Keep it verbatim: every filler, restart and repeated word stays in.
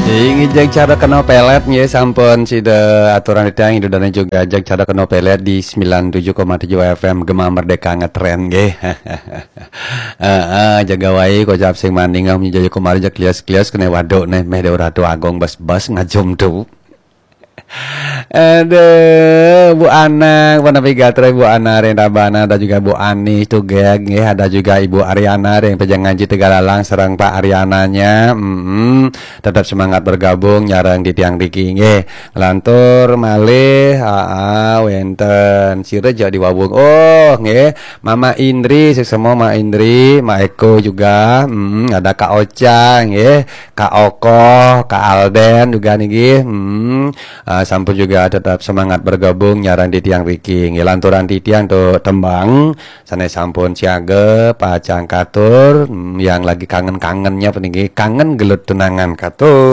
Inggih, jeg cara kena pelet nggih, sampun sida aturan titiang Ibu Dane juga, jeg cara kena pelet di sembilan tujuh koma tujuh F M Gema Merdeka Ngetren nggih. Heeh, jaga wae kocap sing maning, ah, menjadi kemari jeg klias-klias kena waduk neh, meh Dewa Ratu Agung bes-bes ngajum tu. Aduh, Bu Anang, pun napi gatra Bu Ana ring Tabanan, ada juga Bu Ani Tugeg nggih, ada juga Ibu Ariana ring Pejagan Ngaji Tegalalang sareng Pak Ariananya. Mm-mm. Tetap semangat bergabung nyareng titiang niki nggih. Lantur malih, aa, wenten sira ja di Wawung. Oh, nggih, Mama Indri, suksma Ma Indri, Ma Eko juga. Mm, ada Kak Ocha nggih, Kak Oko, Kak Alden juga niki. Mm, ah, sampun juga tetap semangat bergabung nyareng titiang niki nggih. Lanturan titiang tu tembang sane sampun siaga pacang katur, mm, yang lagi kangen-kangennya puniki, kangen gelut tunangan katur.